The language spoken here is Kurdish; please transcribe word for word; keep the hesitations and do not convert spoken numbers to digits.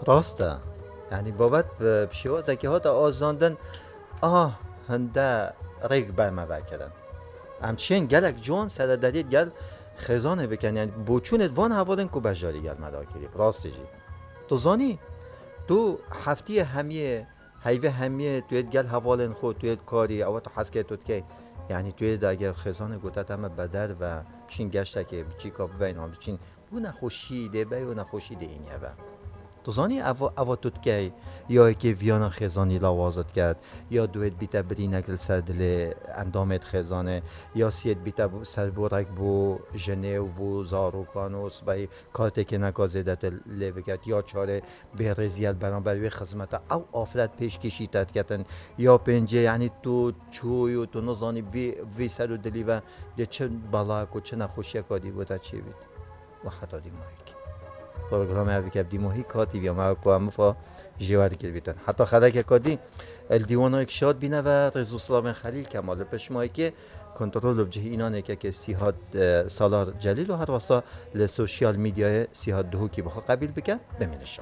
Rast e. Yanî babet bi, bi şêwazekî hate azandin, a hinde rêk be me vekirin. Em çên gelek ciwan seredariyê gel xêzanê bikin. Yanî boçûnê van hevalên ku bejarî gel me dakirî. Rastî jî. Tu zanî, tu heftiyê hemiyê, heyvê hemiyê, tu yê gel hevalên xwe, tu yê karî, ewa tu heskê tu dikey. Yanî tu yê de eger xêzanê gote te me beder ve, çîn geştekê, biçîka bibeyn, an biçîn. Bu nexweşî dê be, yo nexweşî dê înye be. Tu zanî ev, ev tu dikey, ya yekê viyana xêzanî lawaz diket, ya duê dibîte birînek li ser dilê endamê xêzanê, ya siyê dibîte bo-, ser bo rek bo jinê û bo zarokan û sibehî kartêkê neka zêdetir lê biket, ya çarê bêrêziye li beramber wê xizmete. Ew afret pêşkêşî te diketin, ya pêncê, yanî tu çûyî û tu nizanî vî, vî ser û dilî ve dê çi bela ku çi nexweşiyeka dî bo te çêbît. Û heta dîmahîk. Programê ev dike bi dîmahî katî viya me ku em mifa jêwer dikir bîtin. Heta xelekeka dî, li dîwanayek şad bîne ve rêz û silavên Xelîl Kemal li pişt mayekê kontrol û bi cih înan êkekê Sîhat, e, Salar Celîl û her wesa li sosyal medyayê Sîhat Duhokî bi xwe qebîl bike, bimîne şad.